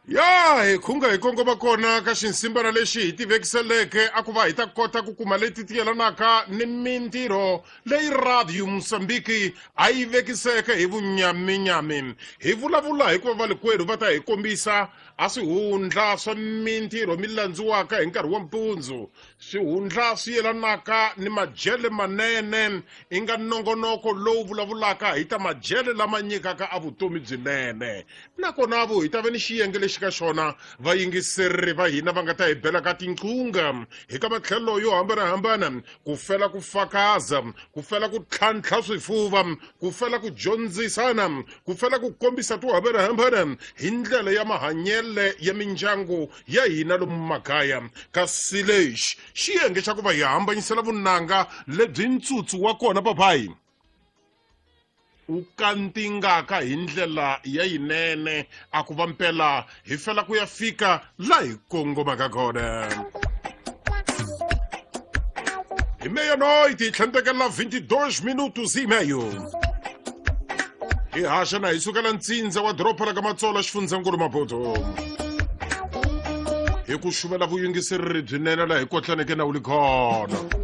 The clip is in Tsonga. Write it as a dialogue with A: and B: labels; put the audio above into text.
A: Ya hi khunga hi kongoma kona ka xinsimbana lexi hi tivekiseleke a ku va hi ta kota ku kuma leti ti yelanaka ni mintirho leyi Radio Mozambique a yi vekiseke hi vunyaminyami. Hi vulavula hikuva valikwerhu va ta hi kombisa a swihundla swa mintirho mi landziwaka hi nkarhi wa mpundzu, swihundla swi yelanaka ni majele manene i nga nongonoko lowu vulavulaka hi ta majele lama nyikaka a vutomi byinene. Nakona vo hi ta va ni xiyenge lexi ka xona vayingiseri va hina va nga ta hi bela ka tinqunga hi ka matlhelo yo hambanahambana, ku fela ku fakaza, ku fela ku tlhantlha swifuva, ku fela ku dyondzisana, ku fela ku kombisa to hambanahambana hi ndlela ya mahanyele ya mindyangu ya hina lomu makaya. Kasi lexi xiyenge xa ku va hi hambanyisela vunanga lebyi ntsutsu wa kona papayi wu kantingaka hi ndlela ya yinene a ku va mpela hi fela ku ya fika la hi kongomaka kona. Hi meia-noite hi tlhandlekela 22 minutos e meio. Hi haxa na hi sukela ntsindza wa doroba ra ka Matsolo xifundzankulu Maputo hi ku xuvela vuyingiseri byinene laha hi kotlaneke na wu li khona.